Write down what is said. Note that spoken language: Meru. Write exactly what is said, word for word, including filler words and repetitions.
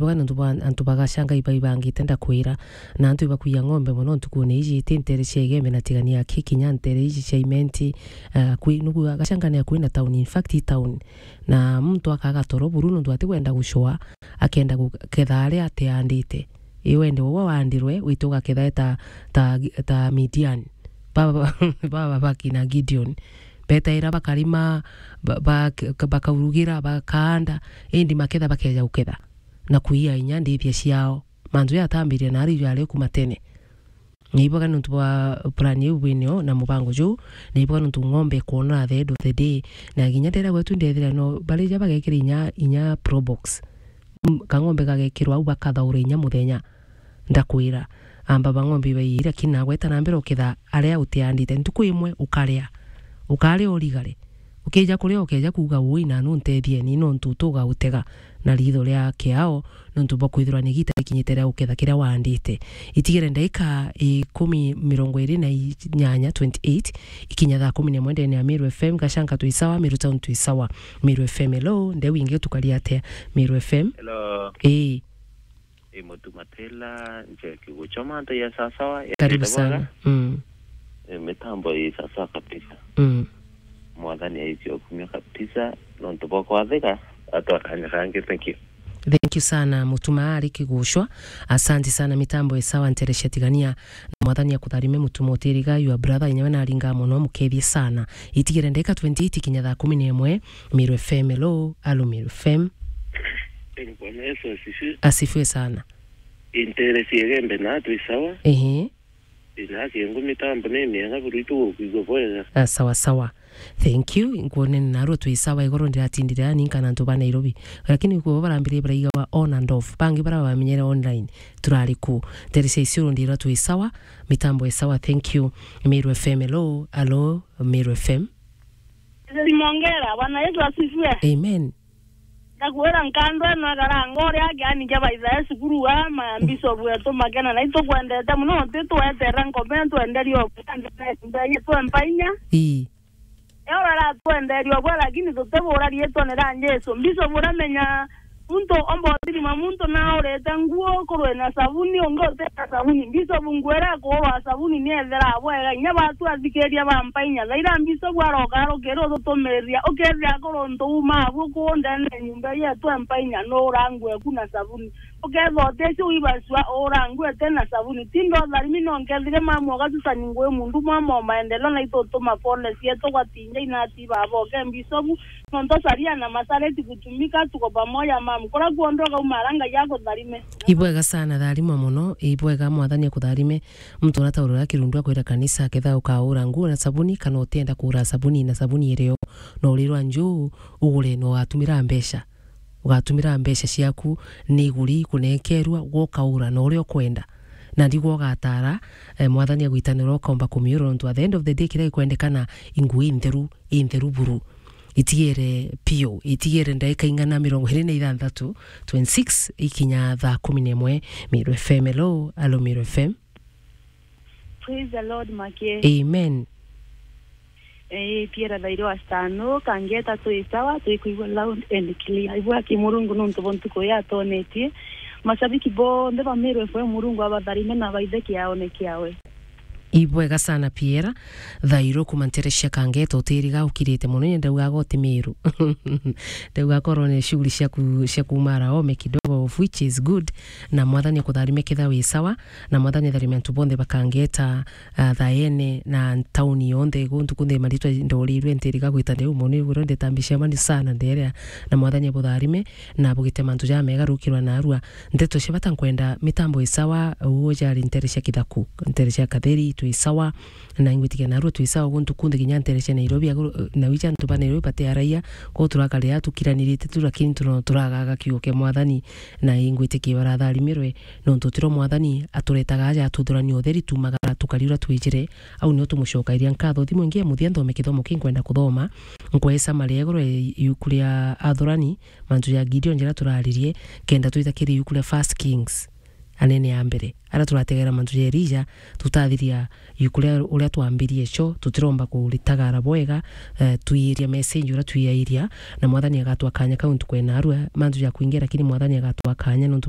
Boga nontu bwa antu ba Gachanga iba ibangite ndakwira, na antu ibakuia ng'ombe mono ntukune iji, ti ntere cia Igembe na Tigania aki kinya ntere iji cia Imenti, eh, akui, nugu Gachanga ni akui na town, in fact i town. Na muntu akaga toro buru nontu atikwenda gucua, akenda guketha aria atiandite. I wende uwe wandirwe, wite ugaketha ta, ta, ta Midian. Baba, baba bakina Gideon. Betaira bakarima, ba-, ba-, bakaurugira, bakaanda, indi maketha bakeja guketha na kuia inya ndithia ciao. Mantu jatambirie na ari jari kuma tene. Ni iboga nontu bwa plan iu bwinio na mubango juu, ni iboga nontu ng'ombe ikwonora at the end of the day. Na kinya ndera gwetu ndethira no, bari ja bagekira inya, inya Probox. Mm, kang'ombe gagekirwa au bakathaura inya muthenya. Ndakwira, amba ba ng'ombe ibaiire, lakini nagweta na mbere uketha aria utiandite. Ntuku imwe ukaria. Ukaria urigare. Ukija kuria ukeja kuuga, "Ui, na nuntethie ni nontu tuga utega na ritho ria kiao, nontu bwa kwithirwa ni igita rikinyite ria uketha kiria waandite." Itigere ndaika ikumi, mirongo iri na inyanya, twenty-eight, ikinya thaa kumi na imwe ndene ya Meru F M, Gachanga twi sawa, Meru Town twi sawa. Meru F M, hello, ndeu ingi utukari atia? Meru F M? Hello. Ii. Ii, Mutu Matela, Njeki Guchoma, ntu ya sasawa, ya Karibu ndete bwega. Sana. Mm. Ii, mitambo ii sasawa kabisa. Mm. Mwathani aicio kumia kabisa, nontu bwa kwathika, atwa kanya kangi, thank you. Thank you sana, Mutuma ari Kiguchwa. Asante sana, mitambo ii sawa, nterecia tigania. Na Mwathani akutharime, Mutuma utiriga, your brother, inyawe naringa mono, mukethie sana. Itigere ndeka twenty-eight kinya thaa kumi na imwe, Meru F M, hello, alo Meru F M. Bwana Yesu asifiwe. Asifiwe sana. Intere cia Igembe na twi sawa. Ehe. Ina kiengo mitambo ni miega buru itu gukwigua bwega. Ah, sawa sawa. Thank you. Nkuonene narua twi sawa, igoro ndiratindire ani nkana antu ba Nairobi. Lakini kuo barambirie baraigawa on and off. Bangi bara bamenyere online. Turari ku. Ntere cia Isiolo ndirwa twi sawa. Mitambo e sawa. Thank you. Meru F M, hello. Hello, Meru F M. Mongera, Bwana Yesu asifiwe. Amen. Ndakwira nkando ino ikaranga uria akiani kia baithae cukuru wa ma bishop wetu Makena, na itukwendete mono, utitweterera nkome, twenderie obwe, twe mpainya. Ii. Eora aratwenderia obwe, lakini tutibura riitwa ni ria Jesu. Bishop uramenya muntu omba uthirima muntu na urite nguo kurwe na sabuni, ungi uti na sabuni. Bishop nguo iria ikuurwa sabuni ni ethera bwega. Inya batu athikiria ba mpainya. Thaira Bishop aroka arukiri ututumiriria. Ukethia kuru untu uma abu kuu ndene ya nyumba yetu mpainya, nuura nguo eku na sabuni. Ukethia uticio wibacua uura nguo ete na sabuni. Tinda utharimi no nkethire mamu ugatusani ngui mundu mwa mo maendeleo na itutuma pole cietu gwatinja inati baba uke Bishop. Nontu saria na masareti kutumika, tuko pamoja, mam. Kura kuondoka umara Ngai agutharime. Ibwega sana, tharima mono. Ibwega, Mwathani akutharime. Muntu urataurira kirundu akwira kanisa, ketha ukaura nguo na sabuni, kana utienda kuura sabuni na sabuni irio, no urirwa njuu ugure, no ugatumira mbeca. Ugatumira mbeca ciaku ni iguri kunekerwa, gwe ukaura na uria ukwenda. Na ndigwa ugatara, eh, Mwathani agwitanira ukomba kumiura, nontu at the end of the day kiria gikwendekana i nguo intheru, intheru buru. Itigere piu, itigere ndaika ing'ana mirongo iri na ithanthatu, twenty-six, ikinya thaa kumi na imwe. Meru F M, hello, alo Meru F M. Praise the Lord, Make. Amen. Eh, Piera thairo wa Stano, kangeta twi sawa, twi kuigua loud and clear. Ibwa ki Murungu nontu bwa ntuku ya atonetie. Mashabiki bonthe ba Meru F M, Murungu abatharime na abaithe kiaone kiawe. Ibwega sana Piera. Thairo kuma ntere cia Kangeta, utiriga ukirite mono, ni ndaugaga uti Meru. Ndauga korwo ni shughuli cia ku-, cia kumara ome kidogo, of which is good. Na Mwathani akutharime ketha wi sawa, na Mwathani atharime antu bonthe ba Kangeta, ah, Thaene, na tauni yonthe, guntu kunthe maritwa ndorirwe ntiriga gwita ndeu mono, ni guro ndetambisha mani sana nderea, na Mwathani abutharime, na bugite mantu jamega rukirwa narua. Nteto cia bata nkwenda mitambo isawa, uo jari ntere cia Kithaku, ntere cia Katheri, twi sawa, na ingwitikia narua twi sawa guntu kunthe kinya ntere cia Nairobi, aguru, na wija antu ba Nairobi bati araia, ko turakarira tukiranirite tu, lakini tuno turagaga kiugo kia Mwathani, na ingwitikia baratharimirwe, nontu tiro Mwathani aturetaga aja atuthurania utheri, tumagara tukari uria twijire, au nio tumucokairia nkatho. Thimu ingi ya muthia nthome kithomo ki nkwenda kuthoma, nkwesa maria iguru ya iuku ria Athurani, mantu ja Gideon jaria turaririe, kenda twita kiri iuku ria First Kings. anene a mbere. Aria turategera mantu ja Elija, tutathiria yuku ria uria twambirie cio, tutiromba kuritagara bwega, eh, twiiria message uria twiairia, na Mwathani agatwa kanya kau ntuku ya narua, mantu ja kuingia, lakini Mwathani agatwa kanya nontu bwa